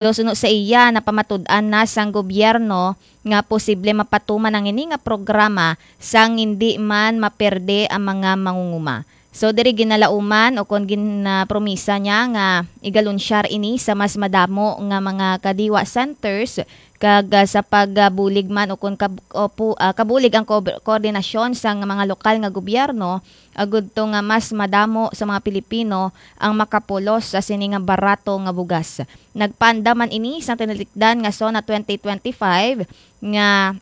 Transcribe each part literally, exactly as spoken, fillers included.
Suno sa iya, napamatud-an na sang gobyerno nga posible mapatuman ang ini nga programa sang hindi man maperde ang mga mangunguma. So, diri ginalauman o kon ginpromisa niya nga igalunsyar ini sa mas madamo nga mga kadiwa centers kag, ah, sa pagbulig man o kon kab-, o pu-, ah, kabulig ang ko-, koordinasyon sang mga lokal nga gobyerno agud to nga mas madamo sa mga Pilipino ang makapulos sa sini nga barato nga bugas. Nagpaandam man ini sa tinalikdan nga SONA twenty twenty-five nga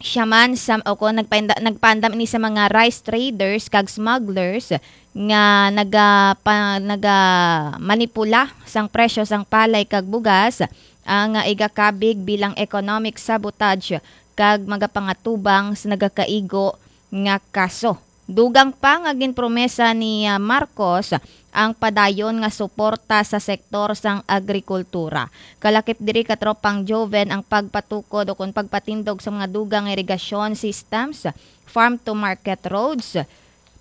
siya man sa, o kon nagpainda-, nagpaandam ini sa mga rice traders kag smugglers nga naga-, pa-, naga-manipula sang presyo sang palay kag bugas, ang igakabig bilang economic sabotage kag magapangatubang sa nagakaigo nga kaso. Dugang pa nga ginpromesa ni, ah, Marcos ang padayon nga suporta sa sektor sang agrikultura. Kalakip diri, katropang Joven, ang pagpatukod o kon pagpatindog sa mga dugang nga irigasyon systems, farm to market roads,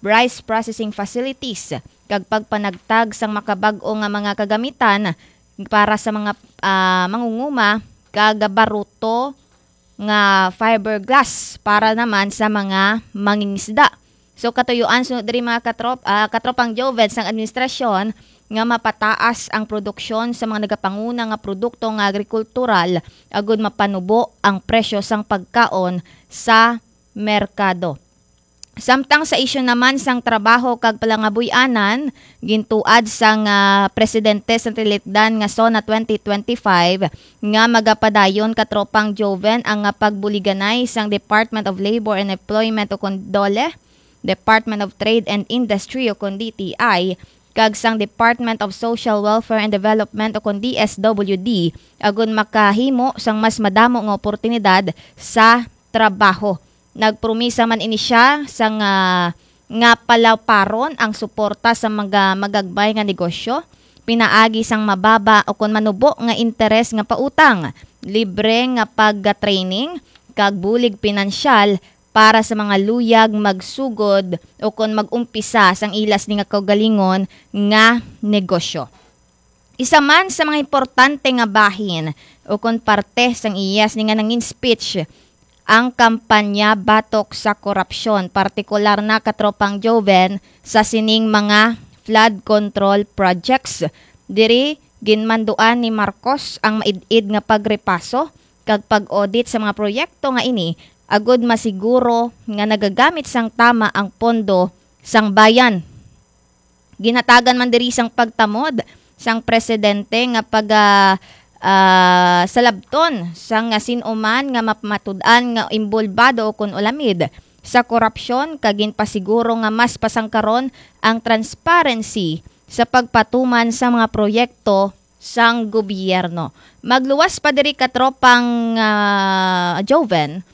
rice processing facilities, kag pagpanagtag sang makabag-o nga mga kagamitan para sa mga, ah, mangunguma kag baruto nga fiberglass para naman sa mga mangingisda. So, katuyuan sunod diri, mga katrop-, ah, katropang Joven, sang administrasyon nga mapataas ang produksyon sa mga nagapanguna nga produkto nga agrikultural agud mapanubo ang presyo sang pagkaon sa merkado. Samtang sa isyu naman sang trabaho kag palangabuy-anan, gintuad sang, ah, presidente sa tilikdan nga SONA twenty twenty-five nga magapadayon, katropang Joven, ang, ah, pagbuliganay sang Department of Labor and Employment o kon DOLE, Department of Trade and Industry o kon D T I, kag sang Department of Social Welfare and Development o kon D S W D, agon makahimo sang mas madamo nga oportunidad sa trabaho. Nagpromisa man ini siya sang, ah, nga palaparon ang suporta sa mga magagmay nga negosyo, pinaagi sang mababa o kon manubo nga interes nga pautang, libre nga pag-training, kag bulig pinansyal para sa mga luyag magsugod o kon mag-umpisa sang ila sini nga kaugalingon nga negosyo. Isa man sa mga importante nga bahin o kon parte sang iya sini nga nangin speech ang kampanya batok sa korupsyon, partikular na, katropang Joven, sa sining mga flood control projects. Diri, ginmanduan ni Marcos ang maid-id nga pagrepaso kag pag-audit sa mga proyekto nga ini agud masiguro nga nagagamit sang tama ang pondo sang bayan. Ginhatagan man diri sang pagtamod sang presidente nga pag, ah, ah, salabton sang sin-o man nga mapamatud-an nga imbolbado o kon ulamid sa korupsyon, kag ginpasiguro nga mas pasangkaron ang transparency sa pagpatuman sa mga proyekto sang gobyerno. Magluwas pa diri, katropang, ah, Joven,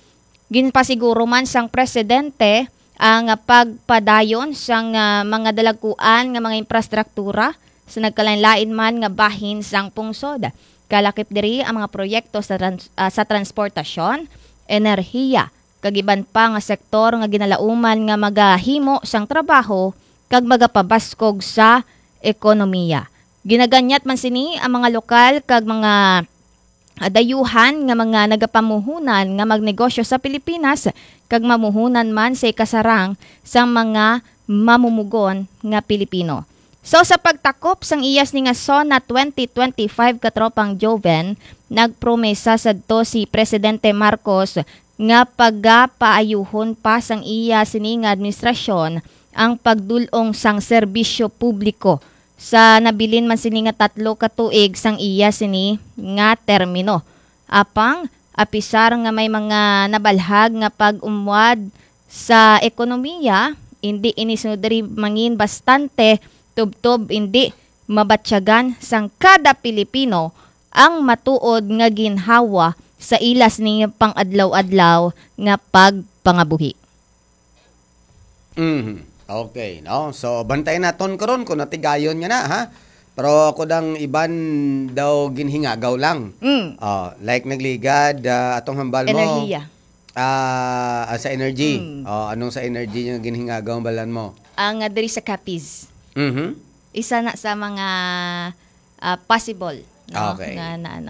ginpasiguro man sang presidente ang pagpadayon sang, ah, mga dalagkuan nga mga infrastruktura sa nagkalainlain man nga bahin sang pungsod, kalakip diri ang mga proyekto sa trans-, ah, sa transportasyon, enerhiya, kag iban pa nga sektor nga ginalauman nga magahimo sang trabaho kag magapabaskog sa ekonomiya. Ginaganyat man sini ang mga lokal kag mga, ah, dayuhan nga mga nagapamuhunan nga magnegosyo sa Pilipinas kag mamuhunan man sa ikasarang sang mga mamumugon nga Pilipino. So, sa pagtakop sang iya sini nga SONA twenty twenty-five, katropang Joven, nagpromesa sadto si Presidente Marcos nga pagapaayuhon pa sang iya sini nga administrasyon ang pagdul-ong sang serbisyo publiko sa nabilin man sini nga tatlo ka tuig sang iya sini nga termino. Apang, apisar nga may mga nabalhag nga pag-umwad sa ekonomiya, indi ini sunod diri mangin bastante tubtob indi mabatyagan sang kada Pilipino ang matuod nga ginhawa sa ila sini pang-adlaw-adlaw nga pagpangabuhi. Mhm. Okay, no? So, bantay naton karon kung natigayon nga na, ha? Pero ako dang iban daw ginhingagaw lang. Mm. Oh, like nagligad, ah, atong hambal mo. Enerhiya. Ah, ah, sa energy. Mm. Oh, anong sa energy nga ginhingagaw ang balan mo? Ang, ah, diri sa Capiz. Mhm. Isa na sa mga, ah, possible no? Okay. Nga na, ano.